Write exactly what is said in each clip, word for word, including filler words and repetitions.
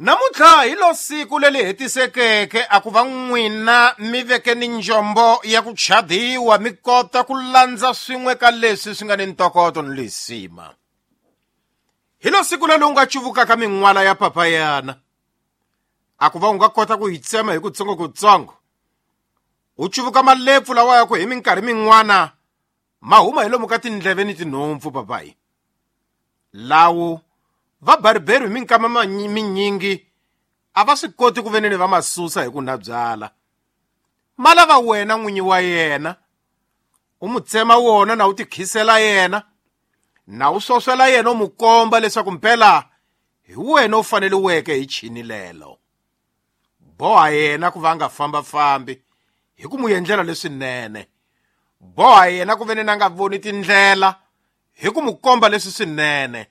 Namuntlha hi lo siku leri hetisekeke a ku va n'wina mi veke ni njombo ya ku chadiwa mi kota ku landza swin'we ka leswi swi nga ni ntokoto ni lisima. Hi lo siku leri u nga cuvukaka min'wala ya papayana a ku va u nga kota ku yi tsema hi kutsongokutsongo u cuvuka malepfu lawa ya ku hi minkarhi min'wana ma huma hi lomu ka tindleve ni tinhompfu papayi. Lawo va bariberi hi minkama minyingi a va swi koti ku veneni va masusa hi ku na byala. Ma lava wena n'winyi wa yena u mu tsema wona na u tikhisela yena na u swoswela yena u mu komba leswaku mpela hi wena u faneliweke hi chini lelo. Boha yena ku va nga fambafambi hi ku mu endlela leswinene. Boha yena ku veneni a nga voni tindlela hi ku mu komba leswi swinene.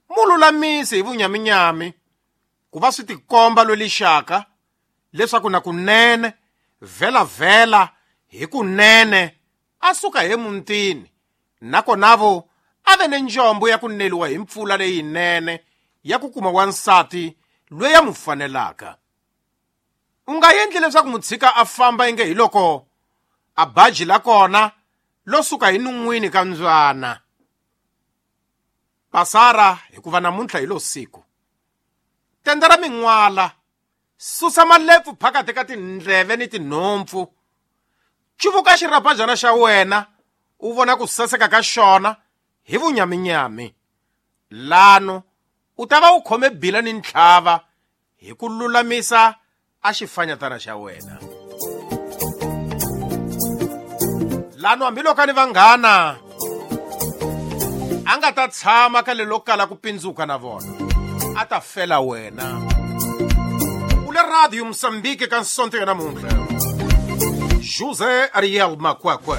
Mu lulamise hi vunyaminyami ku va swi tikomba lwelixaka leswaku na kunene vhela-vhela hi kunene a suka he muntini nakonavo a ve ni njombo ya ku neliwa hi mpfula leyinene ya ku kuma wansati loyi a mu fanelaka. U nga endli leswaku mutshika a famba inge hi loko a baji la kona lo suka hi nun'wini ka mbyana. Pasara hikuva namuntlha hi lo siku. Tenda ra min'wala, susa malepfu phakathi ka tindleve ni tinhompfu. Cuvuka xirhapajana xa wena u vona ku saseka ka xona hi vunyaminyami. Lano u ta va u khome bila ni ntlhava hi ku lulamisa a xifanyatana xa wena. Lano hambiloko ni vanghana a nga ta tshama ka lelo kala ku pindzuka na vona a ta fela wena. U le Radio Mozambique ka Sonto ya namuntlha. José Ariel Makwakwa.